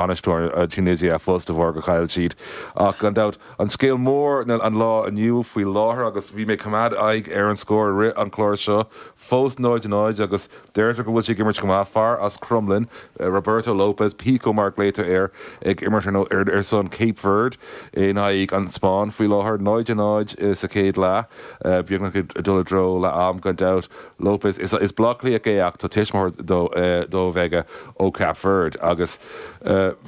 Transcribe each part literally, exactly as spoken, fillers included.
Bainisteoir Tunisia fós de bharr gur chaill siad. Ach gan dabht an scéal mór an lá inniu faoi láthair agus bhí mé ag coimeád aghaidh ar an scór i rith an chláir seo, fós náid a náid agus deirtear go bhfuil sé ag imirt go maith, fear as Cromghlinn, Roberto Lopes, Pico mar a ghlaotar air, ag imirt ar ar son Cape Verde in aghaidh an Spáinn faoi láthair, náid a náid sa chéad leath, beagnach ag dul i dtreo leath am gan dabht. Lopes, is is Baile Átha Cliathach é ach tá tuismitheoir dóibh aige ó Cape Verde agus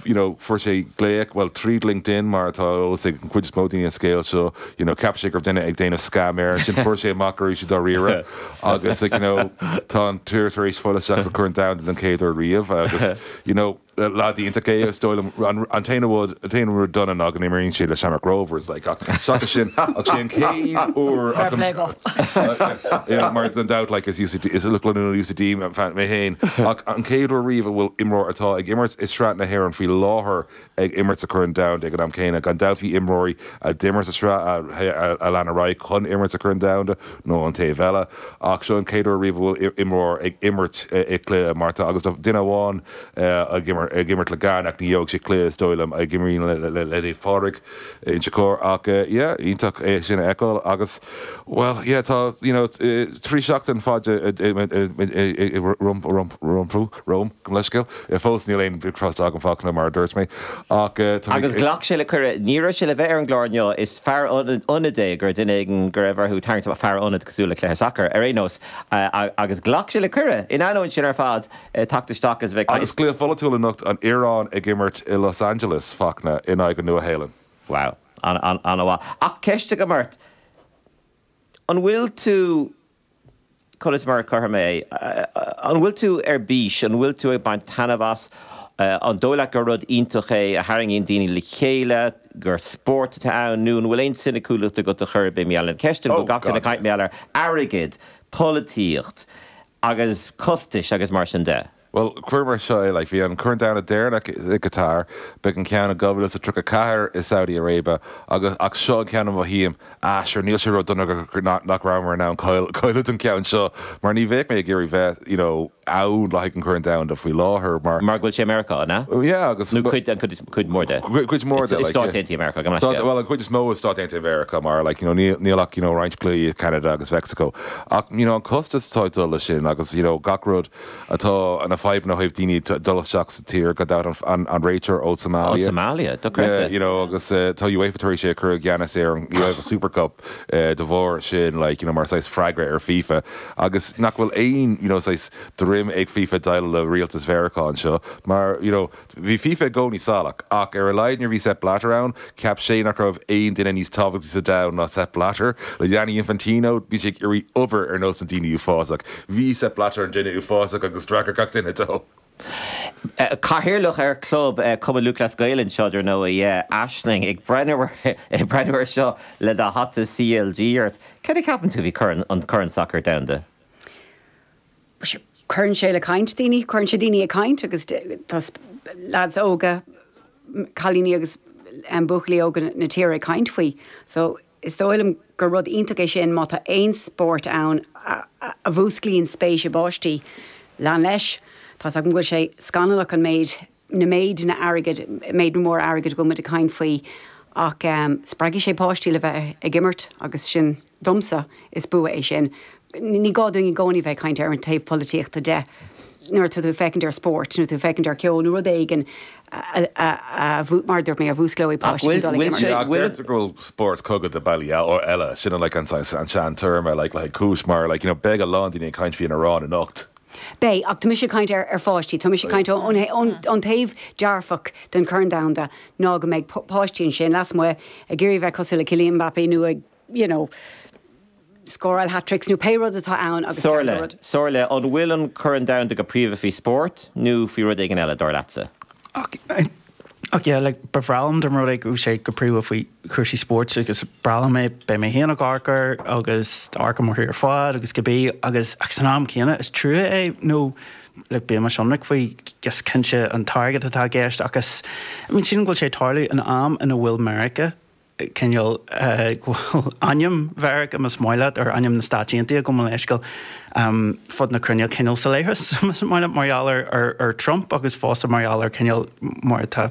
you know fuair sé glaoch, bhuel tríd LinkedIn mar atá eolas ag an chuid is mó daoine an scéal seo, you know cheap sé go raibh duine ag déanamh scam air, ansin fuair sé amach go raibh sé dáiríre agus like you know tá an tír tar éis fáil isteach sa Chorn Domhanda den chéad uair riamh agus you know leaid iontach é is dóigh liom an t-aon rud an t-aon rud dona ná go n-imríonn sé le Shamrock Rovers like ach seachas sin ach sé an chéad uair Fair play dó. you know, mar gan dabht like is UCD is lucht leanúna UCD mé féin ach an chéad uair riamh a bhfuil imreoir atá ag imirt i Sraith na hÉireann faoi láthair ag imirt sa Chorn Domhanda ag an am céanna gan dabht bhí imreoirí a d'imir sa sraith a, a lean ar aghaidh chun imirt sa Chorn Domhanda nó an taobh eile ach seo an chéad uair riamh a bhfuil imreoir ag imirt i gcluiche mar tá agus duine amháin ag imirt ag imirt le Ghana ach ní gheobhaidh sé cluiche is dóigh liom ag imríonn le le le Naomh Pádraig Inse Chór ach yeah iontach é sin a fheiceáil agus well yeah tá you know trí seachtain fada rompu romham go leithscéal fós níl aon trust agam Fachtna mar a dúirt mé ach Agus ghlac sé le cuireadh ní raibh sé le bheith ar an gclár inniu is fear ionaid é gur duine éigin go raibh orthu tarraingt fear ionaid cosúil le cluiche sacair ar aon nós agus ghlac sé le cuireadh in ainneoin sin ar fad teacht isteach is bheith Agus cluiche pholaitiúil anocht an Iaráin ag imirt i Los Angeles Fachtna in aghaidh an Nua-Shéalainn. Wow an-mhaith. Ach ceist agam ort an bhfuil tú conas mar a chuir mé an bhfuil tú ar bís, an bhfuil tú ag baint taitneamh as an dóigh leat gur rud iontach é a tharraingíonn daoine le chéile, gur spórt atá ann nó an bhfuil aon soiniciúlacht agat a chur b'é mé an ceist go gach duine caint mé ar airgead, polaitíocht agus costais agus mar sin de. Well cuir mar seo é like, bhí an Corn Domhanda deireanach i Qatar, beidh an ceann i dhá mhíle is a tríocha ceathair i Saudi Arabia agus ach seo an ceann a mhothaím ah sure níl sé ró-dhona nach rabhamar in ann cailleadh an ceann seo mar ní bheadh mé ag iarraidh bheith you know, ann le haghaidh an Chorn Domhanda faoi láthair mar Mar go bhfuil sé Meiriceá an ea? Yeah agus nó cuid an cuid cuid mór de. Cuid mór de like, Stáit Aontaithe Meiriceá go Stát, well an chuid is mó is Stáit Aontaithe Mheiriceá mar like, you know, níl níl ach you know, roinnt cluichí i Canada agus Mexico ach you know, an costas atá ag dul leis sin agus you know, gach rud atá na fadhbanna ó thaobh daoine dul isteach sa tír go dtí an, an réiteoir ó Somalia. Ó Somalia, dochreidte. Yeah, you know, agus uh, tá UEFA tar éis é chur i gceannas ar an UEFA Super Cup uh, de bharr sin like, you know, mar saghas freagra ar FIFA agus nach bhfuil aon you know, saghas droim ag FIFA déileáil le rialtas Mheiriceá anseo mar you know, bhí FIFA i gcónaí salach ach ar a laghad nuair bhí Sepp Blatter ann cheap sé nach raibh aon duine níos tábhachtaí sa domhan ná Sepp Blatter le Gianni Infantino bhí sé ag iarraidh obair ar nós na daoine uafásach. Bhí Sepp Blatter an duine uafásach agus d'fhreagair gach duine dó. Cathaoirleach ar club Cumann Lúthchleas Gael anseo dar ndóigh Aisling ag breathnú ag breathnú ar seo le do hata CLG ort. Cad a cheapann tú faoi an Corn Sacair Domhanda? Cuireann sé le caint daoine, cuireann sé daoine ag caint agus tá lads óga cailíní agus um, buachaillí óga na tíre ag caint faoi. So is dóigh liom gur rud iontach é sin má tá aon spórt ann a, a, a mhúsclaíonn spéis i bpáistí lean leis. Tá go bhfuil sé scannalach an méid na méid na airgid méid mór airgid go muid ag caint faoi ach um, spreagfaidh sé páistí le bheith ag imirt agus sin domsa is bua é sin. Ní gá dúinn i gcónaí bheith caint ar an taobh polaitíochta de nuair tú féachaint ar spórt nó tú féachaint ar ceol nó rud éigin mar dúirt mé a mhúsclóidh páistí dul ag imirt. Deirtear go bhfuil spórt cogadh de bealaí eile sin like an an sean-téarma like le cúis mar like you know beidh a lán daoine ag caint faoin Iaráin anocht. Beidh ach tá mise caint ar ar pháistí, Tá mise caint an taobh dearfach den Chorn Domhanda ná go mbeidh páistí ansin lasmuigh ag iarraidh bheith cosúil le Kylian Mbappé nó ag you know, scóráil hat-tricks nó pé rud atá ann agus Somhairle Somhairle an bhfuil an Corn Domhanda go príomha faoi spórt nó faoi rud éigin eile dar leatsa. Ach Ach yeah, like, ba bhreá liom dá mba rud é go sé go príomha faoi chúrsaí spóirt agus breá liom é beidh mé féin ag amharc air agus amharc mar ar fad agus go bí agus ach san am céanna is trua é nó like, bí mar sonraach faoi gus cinnte an t-airgead atá i gceist agus I mean, sílim go bhfuil sé tarlú in am ina bhfuil Meiriceá cineál go bhfuil ainm Mheiriceá más maith leat ar ainm na Stáit Aontaithe gabh mo leithscéal um, fud na cruinne cineál sa leithreas más maith leat mar gheall ar, ar, ar Trump agus fosta mar gheall ar cineál mar atá